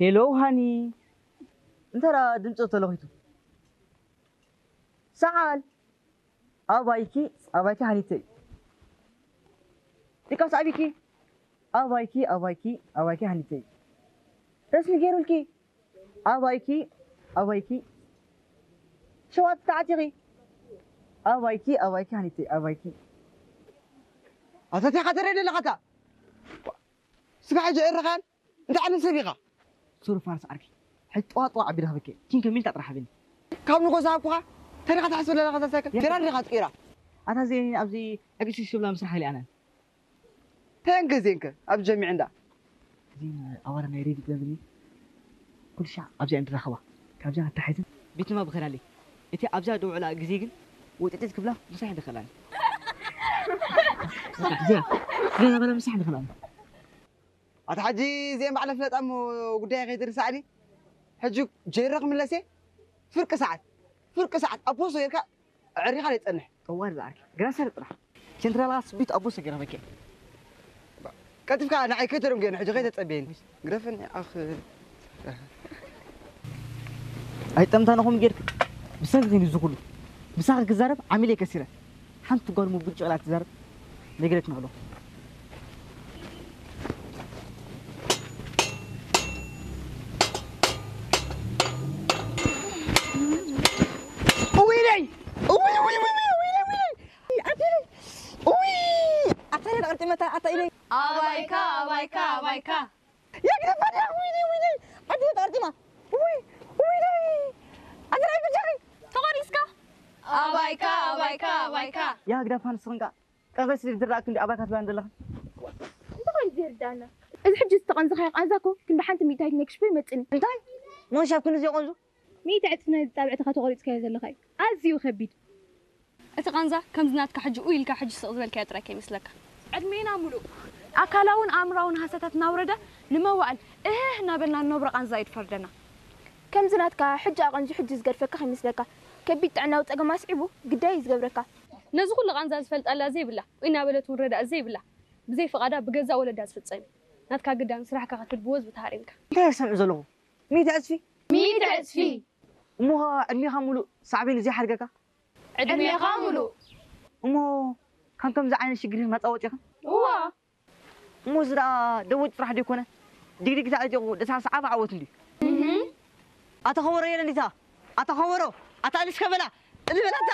ሄሎ ሃኒ፣ እንተ ደኣ ድምፂ ተለኺቱ። ሰዓል፣ ኣባይኪ፣ ኣባይኪ ሃኒተይ። ዲቃስ ኣቢኪ፣ ኣባይኪ፣ ኣባይኪ፣ ኣባይኪ ሃኒተይ። ረስኒ ገይሩልኪ፣ ኣባይኪ፣ ኣባይኪ። ሸዋት ተዓቲኺ፣ ኣባይኪ፣ ኣባይኪ ሃኒተይ፣ ኣባይኪ። ኣታ ቴኻ ተረይ ደለኻታ? ስጋ ሕጂ እርኻን እንታይ ዓይነት ሰብ ኢኻ? ሱር ፋርስ ዓርኪ። ሕጂ ጠዋጥ ጠዋጥ ኣቢለ ክብኬ። ኪን ከሚል ታጥራሕ ሃበኒ። ካብ ንጎ ዝሃብኩኻ ተሪኻ ትሓስብ ኣለኻ እዛ ሳይክል? ጀራር ዲኻ ትቅይራ? ኣታ ዜኒ ኣብዚ ዕግሲ ሽብላ ምስራሕ ኢልኣናን። ተንከ ዜንከ ኣብ ጀሚዕ እንዳ። ዜን ኣዋራ ናይ ሬዲ ትገብኒ። ኩሉ ሻዕ ኣብዚኣ ንራኸባ። ካብዚኣ ኣታሒዝን ቤት ንባብ ብኸዳለይ። እቲ ኣብዚኣ ደውዕላ ግዜ ግን ውጥጢት ክብላ ምሳሕ ይደኸላኒ። እዚኣ፣ እዚኣ በላ ምሳሕ ይደኸላኒ። ኣታ ሕጂ እዚአን ባዕለን ፍለጣ እሞ ጉዳይ ከይትርሳዕኒ። ሕጂ ጀይረ ክምለስ እየ። ፍርቂ ሰዓት፣ ፍርቂ ሰዓት ኣብ ፖስቶ ጌርካ ኣዕሪኻ ዘይጸንሕ። ጠዋር ዝኣርኪ፣ ግራ ሰር ጥራሕ። ሴንትራል ስቢት ኣብ ፖስቶ ጌርካ በኪ። ቀልጢፍካ ንዓይ ከይተደንጉየኒ፣ ሕጂ ከይተጸብየኒ። ግረፈኒ ኣኽ። ኣይጠምታንኹም ጌርክ። ብሰንኪ እዚ ኩሉ። ምሳኺ ክዛረብ ዓሚለ ከሲረ። ሓንቲ ጓል ሙብጭ ኢላ ትዛረብ። ነግረክን ኣለኹ። እውይ ነይ! እውይ፣ እውይ፣ እውይ፣ እውይ፣ እውይ፣ እውይ፣ እውይ! ኣዴለይ! እውይ! ኣታ ኢለይ ተቐርጢመታ፣ ኣታ ኢለይ! ኣባይካ፣ ኣባይካ፣ ኣባይካ! ያ ግደፋ ድያ? ውይ ነይ፣ ውይ ነይ! ኣዴለይ ተቐርጢማ! ውይ! ውይ ነይ! ኣታ ናይ ብጃኺ! ተቖሪስካ! ኣባይካ፣ ኣባይካ፣ ኣባይካ! ያ ግደፋ ንስኽን ከኣ! ቀዘስ ዝርዳእክ እንዲ ኣባይካ ትብላን ዘለኻ? እንታይ ኮይኑ ዘይርዳእና? እዚ ሕጂ ዝተቐንዘኻዮ ቃንዛ እኮ ክንዲ ሓንቲ ሚእታዊት ናይ ክሽፎ ይመጽእኒ። እንታይ? ሞንሻብ ክንዲ ዘይቐንዙ? ሚእቲ ዕጽፊ ናይዚ ጻብዕትኻ ተቖሪጽካዮ ዘለኻ እዩ። ኣዝዩ ከቢድ። እቲ ቃንዛ ከምዚ ናትካ ሕጂ ኡ ኢልካ ሕጂ ስቕ ዝበልካዮ ጥራይ ከይመስለካ። ዕድሜና ሙሉእ ኣካላውን ኣእምራውን ሃሰታት እናውረደ ንመዋእል እህህ እናበልና ንነብሮ ቃንዛ እዩ ዝፈርደና። ከምዚ ናትካ ሕጂ ኣቐንዙ ሕጂ ዝገድፈካ ከይመስለካ። ከቢድ ጥዕናዊ ጸገም ኣስዒቡ ግዳይ እዩ ዝገብረካ። ነዚ ኩሉ ቃንዛ ዝፈልጣላ ዘይብላ ወይ እናበለት እውን ረዳእ ዘይብላ ብዘይ ፍቓዳ ብገዛእ ወለዳ ዝፍጸም እዩ። ናትካ ግዳን ስራሕካ ክትብል ብወዝቢ ተሃሪምካ። እንታይ ይሰምዕ ዘለኹ? ሚእቲ ዕጽፊ? ሚእቲ ዕጽፊ! እሞ ኸኣ ዕድሜኻ ሙሉእ ሳዕቤኑ ዘይሓድገካ? ዕድሜኻ ሙሉእ! እሞ ካብ ከምዚ ዓይነት ሽግር መጻ ወጺእኻ? እዋ! እሞ እዚ ደኣ ደወጭ ጥራሕ ዶ ይኮነ? ዲግዲግ ተዓጢቑ ደሳስ ዓፋ ዓወት እንድዩ። እህ። ኣታ ኸበሮ የለ እንዲታ? ኣታ ኸበሮ! ኣታ እልሽ ከበላ! እልበላታ!